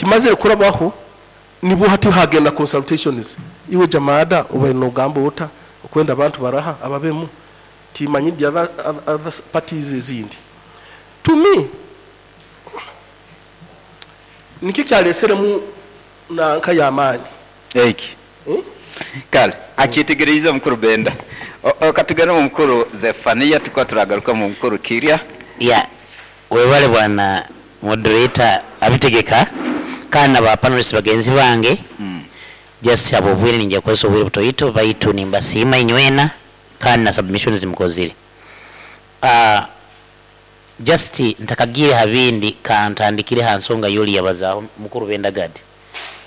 Kimazire kurabaho, nibwo hati hagenda consultations. Iwe Jamada obaire nogamba ota okwenda abantu baraha ababemu timanyi the other parties ezindi. To me, nikyo kyaleseremu nanka y'amaani. Eki. Kale, akyetegereize omukuru Benda. Katugende omu mukuru Zephania, tukuba turagaruka omu mukuru Kirya. Yeah, webale bwana moderator abitegeka kandi na ba panelists bagenzi bange. Just habw'obwire ninjya kukozesa obwire butoito, baitu nimbasiima inywena kandi na submissions zimukozire. Just ntakagiire ha bindi, kantandikire ha nsonga yoli yabazaaho mukuru Benda Gad.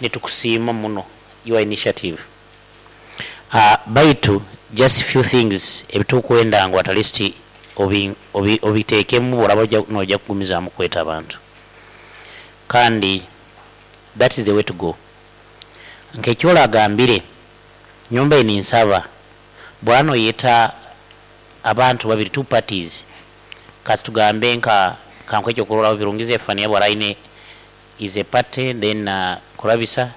Nitukusiima muno your initiative. Baitu just few things ebitukwenda ngu at least obitekemu bworaba noija kugumizaamu kweta abantu. Kandi that is the way to go. Nk'ekyola agambire, nyowe mbaire ninsaba bworaba noyeta abantu babiri, two parties, kasi tugambe nka kankuhe ekyokurorraho, Birungi Zephania bwaraba aine is a party then Kurabisa,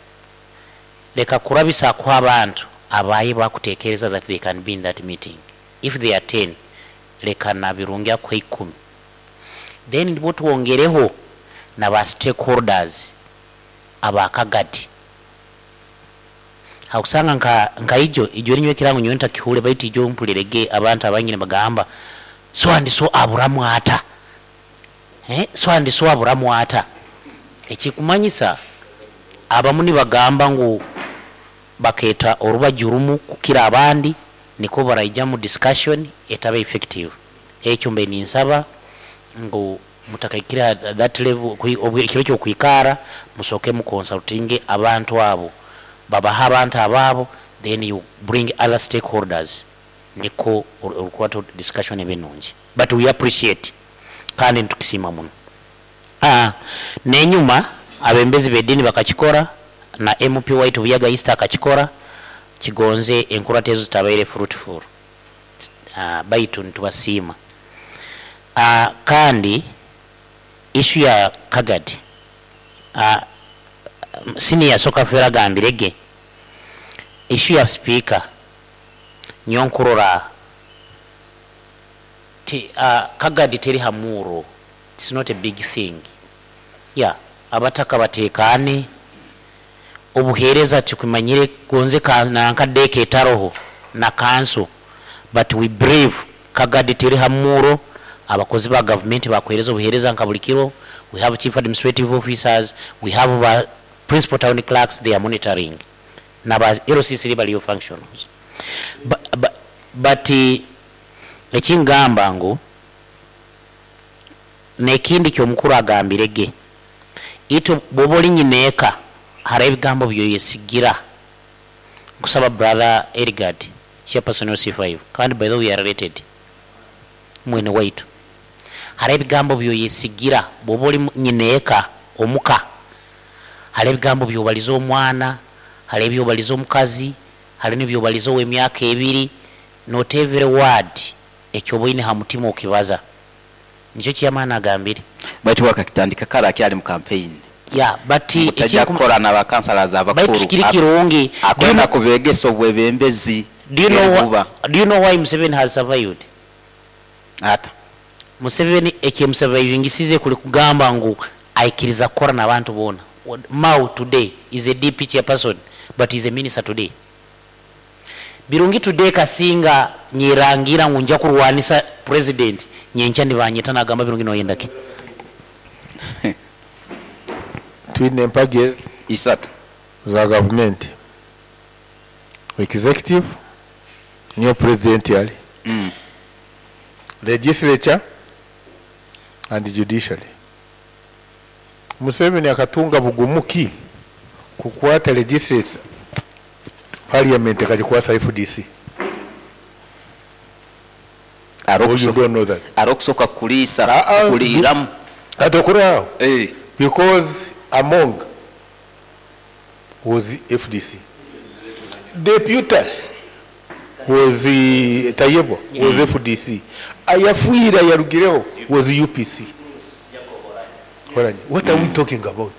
leka Kurabisa akuhe abantu abaye bakutekereza that they can be in that meeting. If they are 10, leka na Birungi akuhe 10. Then nibwo twongereho na ba stakeholders aba Kagadi. Hakusanga nka ijo, ijo ninywe ekirango nyowe ntakihure, baitu ijo mpulirege abantu abangi nibagamba so and so aburamu ata. So and so aburamu ata. Ekikumanyisa abamu nibagamba ngu baketa orubaju rumu kukira abandi, niko baraija mu discussion etaba effective. Ekyo mbe ninsaba ngu mutakaikira that level, ekiro ky'okwikara musooke mu consultinge abantu abo, babaha abantu ababo, then you bring other stakeholders, niko orukwata discussion ebe nungi. But we appreciate kandi nitukisiima muno. N'enyuma abembezi b'edini bakakikora, na MP waitu Buyaga East akakikora, kigonze enkurata ezo zitabaire fruitful. Baitu nitubasiima. Kandi issue ya Kagadi, senior soka fera agambirege, issue ya speaker nyo nkurora Kagadi teri hamuro, it's not a big thing. Yeah, abataka batekane, obuhereza tukumanyire gonze nanka deke etaroho na kanso, but we believe Kagadi teri hamuro, abakozi ba government bakuhereza obuhereza nka buli kiro. We have chief administrative officers, we have ba principal town clerks, they are monitoring. Na ba LCC baliyo functionals. But ekingamba ngu nekindi kyomukuru agambirege, ito bwoba oli nyineeka hari ebigambo byoyesigira. Nkusaba brother Erigard, chairperson wa C5, kandi by the way we are related, mwene waitu. Hari ebigambo byoyesigira bwoba oli nyineeka omuka, hari ebigambo byobaliza omwana, hari ebyobaliza omukazi, hari nebyobaliza ow'emyaka ebiri, not every word ekyoboine ha mutima okibaza. Nikyo chairman agambire. Baitu wakakitandika kare akyali mu campaign. Yeah, but Mutajja kukora na ba councillors abakuru. Baitu kiri kirungi. Akwenda kubegesa obwebembezi. Do you know why Museveni has survived? Ata. Museveni ekyemusurvivingisize kuli kugamba ngu aikiriza kukora n'abantu boona. Mao today is a DP chairperson, but is a minister today. Birungi today kasinga nyirangira ngu nja kurwanisa president, nyenkya nibanyeta nagamba Birungi noyenda ki? Twine empagi isatu za government. Executive niyo president yali. Legislature and judiciary. Museveni akatunga bugumuki kukwata legislature, parliament ekagikwasa FDC. Oh, you don't know that. Arokusoka kulisa, kuliramu. Atokura. Because among was FDC. Deputy was Tayebwa was FDC. Ayafuira yarugireho was UPC. What are we talking about?